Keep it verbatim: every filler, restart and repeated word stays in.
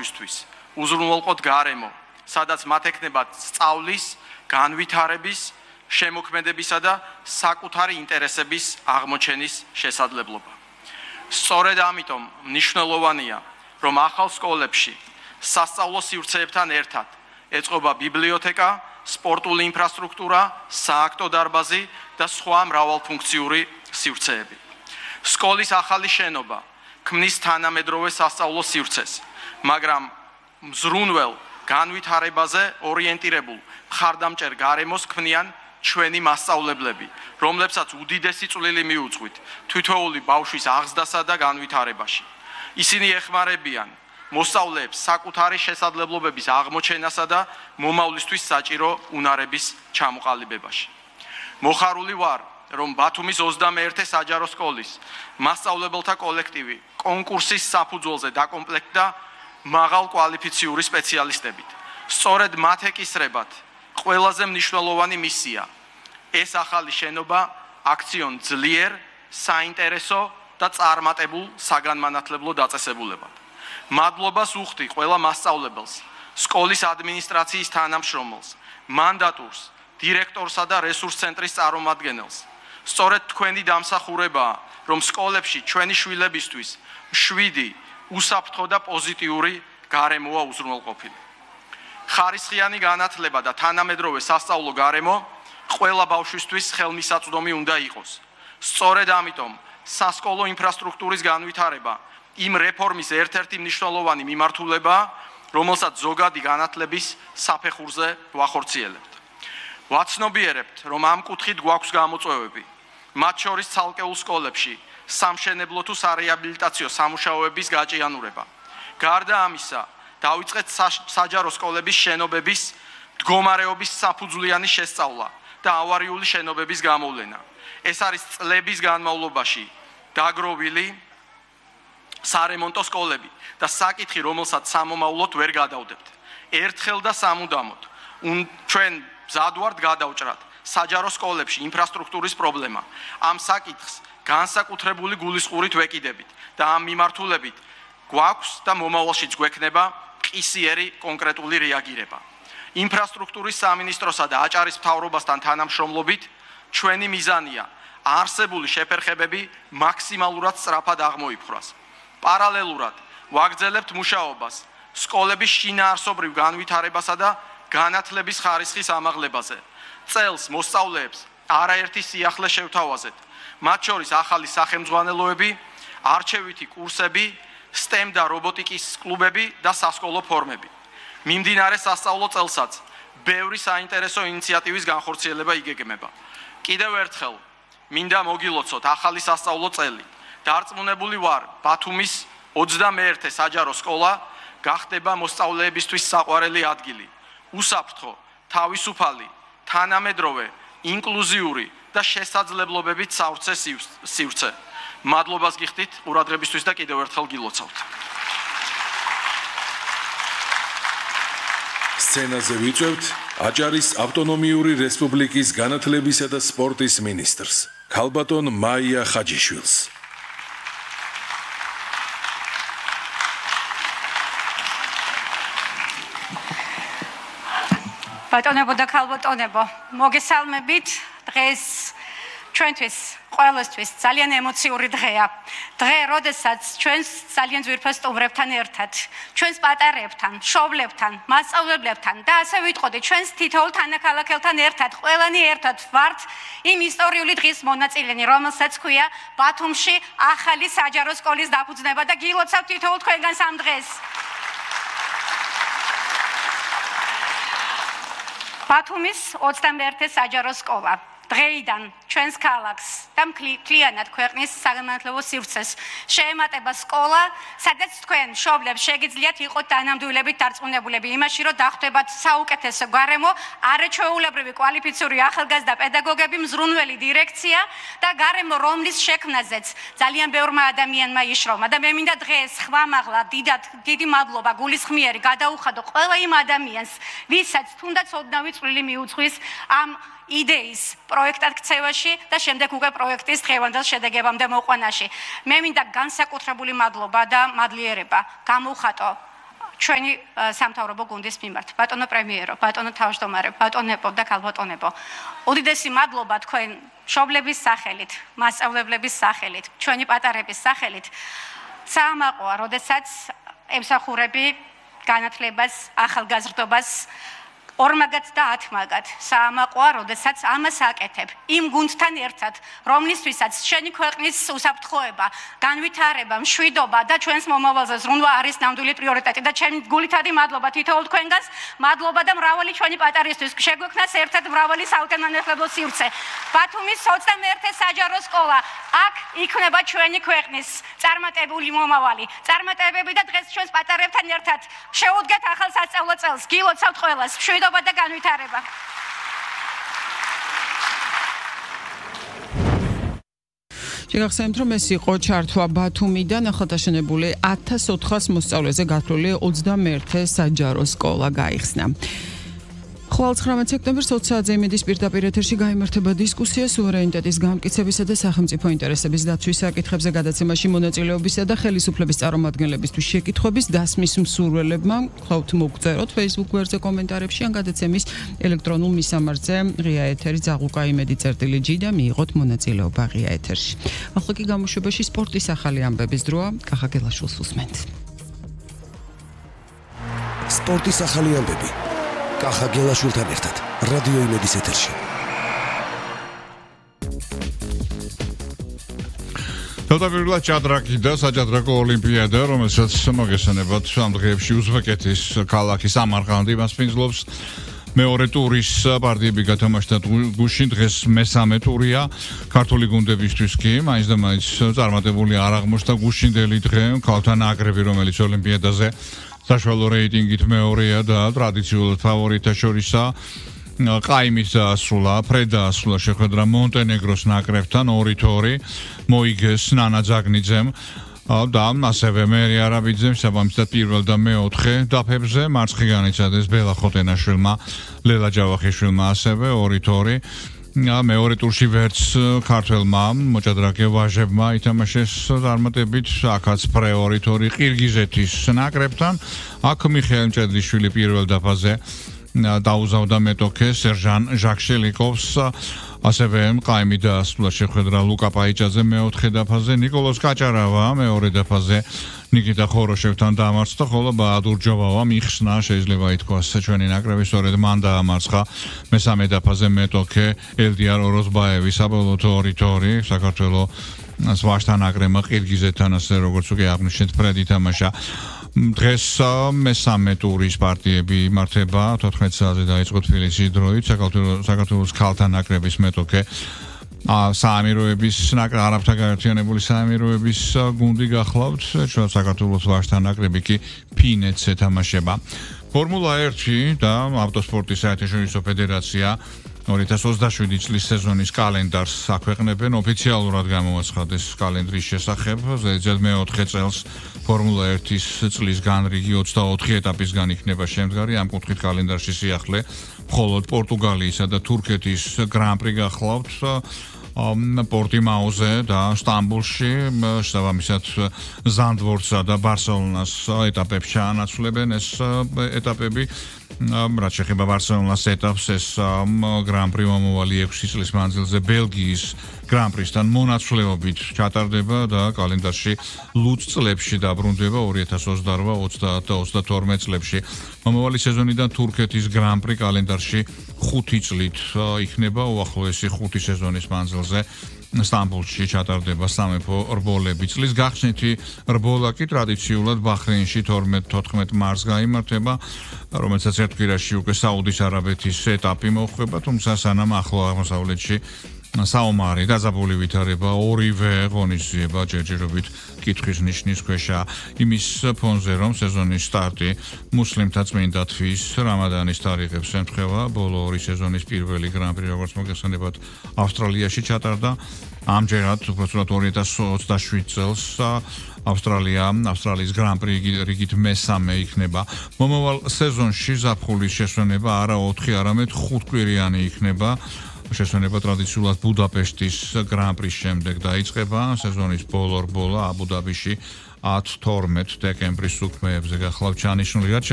ისთვის უზრუნველყოთ გარემო, სადაც მათ ექნებათ სწავლის, განვითარების, შემოქმედებისა და საკუთარი ინტერესების აღმოჩენის შესაძლებლობა. სწორედ ამიტომ მნიშვნელოვანია, რომ ახალ სკოლებში სასწავლო სივრცეებთან ერთად ეწყობა ბიბლიოთეკა, სპორტული ინფრასტრუქტურა, სააქტო დარბაზი და სხვა მრავალფუნქციური სივრცეები. სკოლის ახალი შენობა ქმნის თანამედროვე სასწავლო სივრცეს, მაგრამ მზრუნველ განვითარებაზე ორიენტირებულ მხარდამჭერ გარემოს ქმნიან ჩვენი მასწავლებლები, რომლებსაც უდიდესი წვლილი მიუძღვით თითოეული ბავშვის აღზრდასა და განვითარებაში. ისინი ეხმარებიან მოსწავლეებს საკუთარი შესაძლებლობების აღმოჩენასა და მომავლისთვის საჭირო უნარების ჩამოყალიბებაში. მოხარული ვარ, რომ ბათუმის ოცდამეერთე საჯარო სკოლის მასწავლებელთა კოლექტივი კონკურსის საფუძველზე დაკომპლექტდა მაღალ კვალიფიციური სპეციალისტებით. სწორედ მათ ეკისრებათ ყველაზე მნიშვნელოვანი მისია. ეს ახალი შენობა აქციონ ძლიერ, საინტერესო და წარმატებულ საგანმანათლებლო დაწესებულებად. მადლობას უხდი ყველა მასწავლებელს, სკოლის ადმინისტრაციის თანამშრომელს, მანდატურს, დირექტორსა და რესურს ცენტრის წარმომადგენელს. სწორედ თქვენი დამსახურებაა, რომ სკოლებში ჩვენი შვილებისთვის მშვიდი, უსაფრთხო და პოზიტიური გარემოა უზრუნველყოფილი. ხარისხიანი განათლება და თანამედროვე სასწავლო გარემო ყველა ბავშვისთვის ხელმისაწვდომი უნდა იყოს. სწორედ ამიტომ სასკოლო ინფრასტრუქტურის განვითარება იმ რეფორმის ერთ-ერთი მნიშვნელოვანი მიმართულებაა, რომელსაც ზოგადი განათლების საფეხურზე ვახორციელებთ. ვაცნობიერებთ, რომ ამ კუთხით გვაქვს გამოწვევები, მათ შორის ცალკეულ სკოლებში სამშენებლო თუ სარეაბილიტაციო სამუშაოების გაჭიანურება. გარდა ამისა, დავიწყეთ საჯარო სკოლების შენობების მდგომარეობის საფუძვლიანი შესწავლა და ავარიული შენობების გამოვლენა. ეს არის წლების განმავლობაში დაგროვილი სარემონტო სკოლები და საკითხი, რომელსაც სამომავლოდ ვერ გადავდებთ. ერთხელ და სამუდამოდ ჩვენ მზად ვართ გადავჭრათ საჯარო სკოლებში ინფრასტრუქტურის პრობლემა. ამ საკითხს განსაკუთრებული გულისყურით ვეკიდებით და ამ მიმართულებით გვაქვს და მომავალშიც გვექნება ყისიერი კონკრეტული რეაგირება. ინფრასტრუქტურის სამინისტროსა და აჭარის მთავრობასთან თანამშრომლობით ჩვენი მიზანია არსებული შეფერხებები მაქსიმალურად სწრაფად აღმოიფხვრას. პარალელურად ვაგრძელებთ მუშაობას სკოლების შინაარსობრივ განვითარებასა და განათლების ხარისხის ამაღლებაზე. წელს მოსწავლეებს არაერთი სიახლე შევთავაზეთ, მათ შორის ახალი სახელმძღვანელოები, არჩევითი კურსები, STEM და რობოტიკის კლუბები და სასკოლო ფორმები. მიმდინარე სასწავლო წელსაც ბევრი საინტერესო ინიციატივის განხორციელება იგეგმება. კიდევ ერთხელ მინდა მოგილოცოთ ახალი სასწავლო წელი. დარწმუნებული ვარ, ბათუმის ოცდამეერთე საჯარო სკოლა გახდება მოსწავლეებისთვის საყვარელი ადგილი, უსაფრთხო, თავისუფალი, თანამედროვე, ინკლუზიური და შესაძლებლობებით სავსე სივრცე. მადლობას გიხდით ყურადღებისთვის და კიდევ ერთხელ გილოცავთ. სცენაზე ვიწევთ აჭარის ავტონომიური რესპუბლიკის განათლებისა და სპორტის მინისტრს, ქალბატონ მაია ხაჯიშვილს. ბატონებო და ქალბატონებო, მოგესალმებით. დღეს ჩვენთვის ყველასთვის ძალიან ემოციური დღეა. დღე, როდესაც ჩვენს ძალიან ძვირფას სტუმრებთან ერთად, ჩვენს პატარებთან, მშობლებთან, მასწავლებლებთან და ასე ვიტყოდი, ჩვენს თითოეულ თანაქალაქელთან ერთად, ყველანი ერთად ვართ იმ ისტორიული დღის მონაწილენი, რომელსაც ქვია ბათუმში ახალი საჯარო სკოლის დაფუძნება და გილოცავთ თითოეულ თქვენგანს ამ დღეს. ბათუმის ოცდამეერთე საჯარო სკოლა დღეიდან ჩვენს ქალაქს და მთლიანად ქვეყნის საგანმანათლებლო სივრცეს შეემატება სკოლა, სადაც თქვენ მშობლებს შეგიძლიათ იყოთ თანამდებობებით დარწმუნებულები იმაში, რომ დახვდებათ საუკეთესო გარემო, არაჩვეულებრივი კვალიფიციური ახალგაზრდა პედაგოგები, მზრუნველი დირექცია და გარემო, რომლის შექმნაზეც ძალიან ბევრმა ადამიანმა იშრომა. და მე მინდა დღეს ხვამაღლა დიდად დიდი მადლობა გულისხმიერი გადაუხადო ყველა იმ ადამიანს, ვისაც თუნდაც ოდნავი წვლილი მიუძღვის ამ იდეის პროექტად ქცევაში და შემდეგ უკვე პროექტის დღევანდელ შედეგებამდე მოყვანაში. მე მინდა განსაკუთრებული მადლობა და მადლიერება გამოვხატო ჩვენი სამთავრობო გუნდის მიმართ. ბატონო პრემიერო, ბატონო თავმჯდომარე, ბატონებო და ქალბატონებო. უდიდესი მადლობა თქვენ მშობლების სახელით, მასწავლებლების სახელით, ჩვენი პატარების სახელით. საამაყოა, როდესაც ემსახურები განათლებას, ახალგაზრდობას ორმაგად და ათმაგად. საამაყოა, როდესაც ამას აკეთებ იმ გუნდთან ერთად, რომლისთვისაც შენი ქვეყნის უსაფრთხოება, განვითარება, მშვიდობა და ჩვენს მომავალზე ზრუნვა არის ნამდვილი პრიორიტეტი და ჩემი გულითადი მადლობა თითოეულ თქვენგანს, მადლობა და მრავალი ჩვენი პატარისთვის. შეგვექმნას ერთად მრავალი საუკეთესო სივრცე. ბათუმის ოცდამეერთე საჯარო სკოლა, აქ იქნება ჩვენი ქვეყნის წარმატებული მომავალი. წარმატებები და დღეს ჩვენს პატარებთან ერთად შეუდგეთ ახალ სასწავლო წელს. გილოცავთ ყველას. მშვიდობა და განვითარება. შეგახსენებთ, რომ ეს იყო ჩართვა ბათუმიდან ახალდაშენებული ათას ოთხას მოსწავლეზე გათვლილი ოცდამეერთე საჯარო სკოლა გაიხსნა. ხვალ ცხრამეტ სექტემბერს ოც საათზე იმედის პირდაპირ ეთერში გაიმართება დისკუსია სუვერენიტეტის გამტკიცებისა და სახელმწიფო ინტერესების დაცვის საკითხებზე გადაცემაში მონაწილეობისა და ხელისუფლების წარმომადგენლებისთვის შეკითხვების დასმის მსურველებმა ხავთ მოგწეროთ Facebook გვერდზე კომენტარებში ან გადაცემის ელექტრონულ მისამართზე ღია ეთერი ძაღლუკა იმედი წერტილი ჯი და მიიღოთ მონაწილეობა ღია ეთერში. ახლა კი გამოშვებაში სპორტის ახალი ამბების დროა. კახა გელაშვილს უსმენთ. სპორტის ახალი ამბები. კახა გელაშვილთან ერთად რადიო იმედის ეთერში. თავდაპირველად ჭადრაკი და საჭადრაკო ოლიმპიადა, რომელსაც მოგესალმებათ ამ დღეებში უზბეკეთის ქალაქი სამარყანდი მასპინძლობს. მეორე ტურის პარტიები გათამაშდა გუშინ, დღეს მესამე ტურია. ქართული გუნდებისთვის კი მაინც და მაინც წარმატებული არ აღმოჩნდა გუშინდელი დღე ქალთა ნაკრები, რომელიც ოლიმპიადაზე საშუალო რეიტინგით მეორეა და ტრადიციულად ფავორიტთა შორისაა. ყაიმის დაასრულა, ფრედ დაასრულა შეხვედრა მონტენეგროს ნაკრებთან ორი თორი, მოიგეს ნანა ძაგნიძემ და ასევე მერი არაბიძემ საბამისად პირველ და მეოთხე დაფებზე, მარცხი განიცადეს ბელა ხოტენაშვილმა, ლელა ჯავახიშვილმა ასევე ორი თორი. მეორე ტურში ვერც ქართველმა მოჭადრაკე ვაჟებმა ითამაშეს წარმატებით, აქაც პრეორი თორი ყირგიზეთის ნაკრებთან. აქ მიხეილ მჭედლიშვილი პირველ დაფაზე დაუზავდა მეტოქე სერჟან ჟაქშელიკოვს, ასევე ყაიმი დაასრულა შეხვედრა ლუკა პაიჭაძე მეოთხე დაფაზე, ნიკოლოზ კაჭარავა მეორე დაფაზე ნიკიტა ხოროშევთან დაამარცხა, ხოლო ბაადურ ჯოვავა მიხსნა, შეიძლება ითქვას ჩვენი ნაკრები სწორედ მან დაამარცხა მესამე დაფაზე მეტოქე ელდიარ ოროზბაევი, საბოლოოდ ორი თორი საქართველოს ვაჟთა ნაკრებმა ყირგიზეთთან, ასე როგორც უკვე აღნიშნეთ, ფრედ ითამაშა. დღეს მესამე ტურის პარტიები იმართება, თოთხმეტ საათზე დაიწყო თბილისის დროით, საქართველოს ქალთა ნაკრების მეტოქე საამიროების ნაკრები, არაბთა გაერთიანებული საამიროების გუნდი გახლავთ, ჩვენ საქართველოს ვაჟთა ნაკრები კი ფინეთს ეთამაშება. ფორმულა ერთი და ავტოსპორტის საერთაშორისო ფედერაცია ორი ათას ოცდაშვიდი წლის სეზონის კალენდარს აქვეყნებენ, ოფიციალურად გამოაცხადეს კალენდრის შესახებ, ზედიზედ მეოთხე წელს ფორმულა ერთის წლის განრიგი ოცდაოთხი ეტაპისგან იქნება შემდგარი, ამ კუთხით კალენდარში სიახლე მხოლოდ პორტუგალიისა და თურქეთის გრან-პრი გახლავთ, პორტიმაოზე და სტამბოლში, შესაბამისად ზანდვორცსა და ბარსელონას ეტაპებს ჩაანაცვლებენ ეს ეტაპები. რაც შეეხება ბარსელონას ეტაპს, ეს გრან-პრი მომავალი ექვსი წლის მანძილზე ბელგიის გრან-პრისთან მონაცვლეობით ჩატარდება და კალენდარში ლუც წლებში დაბრუნდება ორი ათას ოცდარვა, ოცდაათ და ოცდათორმეტ წლებში. მომავალი სეზონიდან თურქეთის გრან-პრი კალენდარში ხუთი წლით იქნება, უახლოესი ხუთი სეზონის მანძილზე სტამბოლში ჩატარდება სამეფო რბოლები. წლის გახსნითი რბოლა კი ტრადიციულად ბაჰრეინში თორმეტ-თოთხმეტ მარტს გაიმართება, რომელსაც ერთ კვირაში უკვე საუდის არაბეთის ეტაპი მოხვდება, თუმცა სანამ ახლო აღმოსავლეთში საომარი დაძაბული ვითარება, ორივე ღონისძიება ჯერჯერობით კითხვის ნიშნის ქვეშა, იმის ფონზე, რომ სეზონის სტარტი მუსლიმთა წმინდა თვის რამადანის თარიღებს ემთხვევა, ბოლო ორი სეზონის პირველი გრან-პრი, როგორც მოგეხსენებათ, ავსტრალიაში ჩატარდა. ამჯერად უბრალოდ ორი ათას ოცდაშვიდ წელს ავსტრალია, ავსტრალიის გრან-პრი რიგით მესამე იქნება. მომავალ სეზონში ზაფხულის შესვენება არა ოთხი, არამედ ხუთკვირიანი იქნება. შესვენება ტრადიციულად ბუდაპეშტის გრან-პრის შემდეგ დაიწყება. სეზონის ბოლო რბოლა აბუ-დაბიში ათი თორმეტი დეკემბრის უქმეებზე გახლავთ ჩანიშნული. რაც